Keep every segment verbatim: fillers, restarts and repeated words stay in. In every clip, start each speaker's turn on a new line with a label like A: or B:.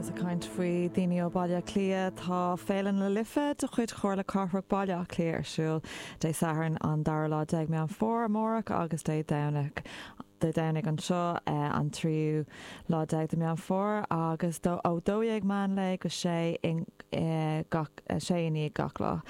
A: Agus ag caint faoi daoine ó Baile Átha Cliath tá Féile na Life de chuid Chomhairle Cathrach Baile Átha Cliath ar siúl Dé Sathairn an dara lá déag Meán Fómhair amárach agus Dé Domhnaigh. Dé Domhnaigh anseo eh, an tríú lá déag de Meán Fómhair agus dó ó dó dhéag meán lae go sé in eh, gach eh, sé i ndiaidh gach lá.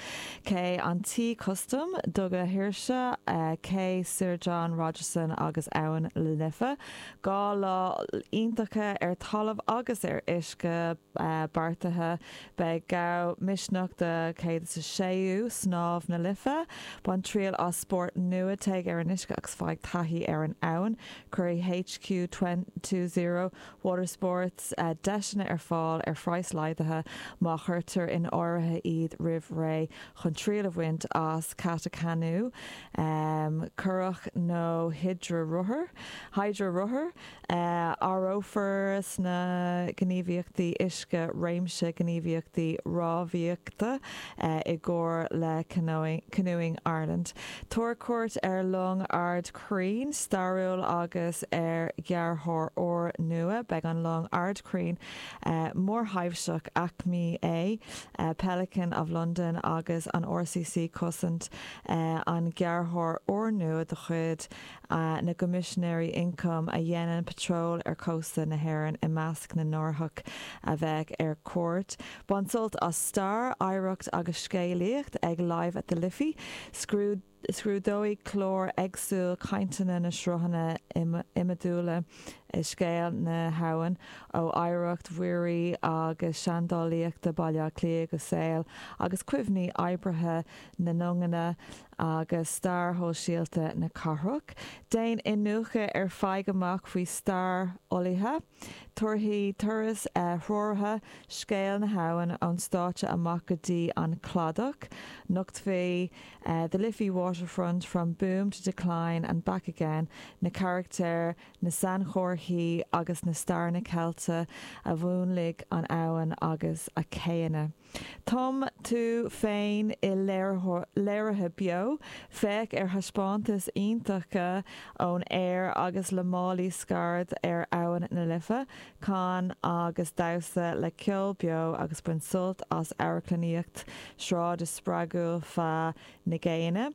A: Cé an Tí Custaim Duga Shaoirse Cé Sir John Rogerson agus Abhainn na Life. Dhá lá iontacha ar talamh agus ar uisce beartaithe beidh gabh misneach de céad is a séú snámh na Life, Bain triail as spórt nua téigh ar an uisce agus faigh taithí ar an abhainn, Cuirfidh HQ two zero Water Sports uh, deiseanna ar fáil ar phraghas laghdaithe má chuirtear in áirithe iad roimh ré chun triail a bhaint as katakanu, um, curach nó hidrearothar, hidrearothar, uh, áireofar sna gníomhaíochtaí uisce réimse gníomhaíochtaí rámhaíochta uh, i gcomhar le Canoeing, Canoeing Ireland. Tabhair cuairt ar long Ard Craoin stairiúil agus ar ghearrthóir úr nua beidh an long Ard Craoin uh, mórthaibhseach Acme A, uh, Pelican of London agus an RCC Cosant uh, an gearrthóir úr nua de chuid uh, na gCoimisinéirí Ioncaim a dhéanann patról ar chósta na hÉireann i measc na n-árthach a bheidh ar cuairt. Bain sult as stair oidhreacht agus scéalaíocht ag Live at the Liffey, Scrúd Scrúdóidh clár éagsúil cainteanna na sruthanna iomadúla i scéal na habhann ó oidhreacht mhuirí agus seandálaíochta Baile Átha Cliath go saol agus cuimhní oibrithe na longanna agus stair shóisialta na cathrach. Déan iniúchadh ar faigh amach faoi stair fholaithe, Tabharfaidh turas treoraithe scéal na habhann ón stáitse amach go dtí an cladach, Nochtfaidh uh, the Liffey Waterfront from boom to decline and back again, na carachtair na sainchomharthaí agus na stair na Ceiltigh a mhúnlaigh an abhainn agus a céanna. Tum tú féin i léirithe beo, féach ar thaispeántas iontacha ón aer agus le málaí scaird ar abhainn na Life, can agus damhsa le ceol beo agus bain sult as amharclannaíocht sráide spreagúil feadh na gcéanna.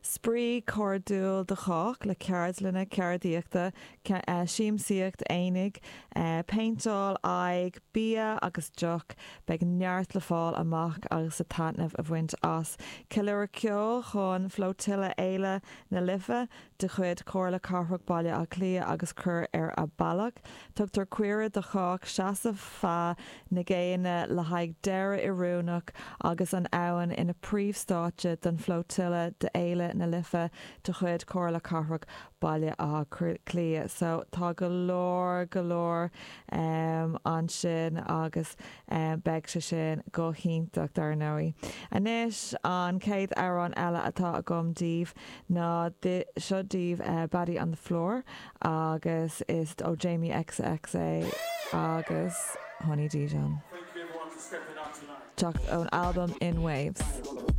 A: Spraoi cairdiúil do chách le ceardlanna ceardaíochta siamsaíocht aonaigh, péinteáil aghaidh, bia agus deoch, beidh neart le fáil amach agus a taitneamh a bhaint as. Ceiliúradh ceoil chun Flotilla Fhéile na Life de chuid Chomhairle Cathrach Baile Átha Cliath agus cur ar a bealach. Tugtar cuireadh do chách seasamh feadh na gcéanna le haghaidh deireadh oiriúnach agus an abhainn ina príomhstáitse don Flotilla d'Fhéile na Life de chuid Chomhairle Cathrach Baile Átha Cliath. So tá go leor go leor um, ansin agus um, beidh sé sin go hiontach dar ndóigh. Anois an chéad amhrán eile atá agam daoibh ná seo daoibh uh, Body on the Floor agus is ó Jamie XX é agus Honey Dijon. Teacht ón album In Waves.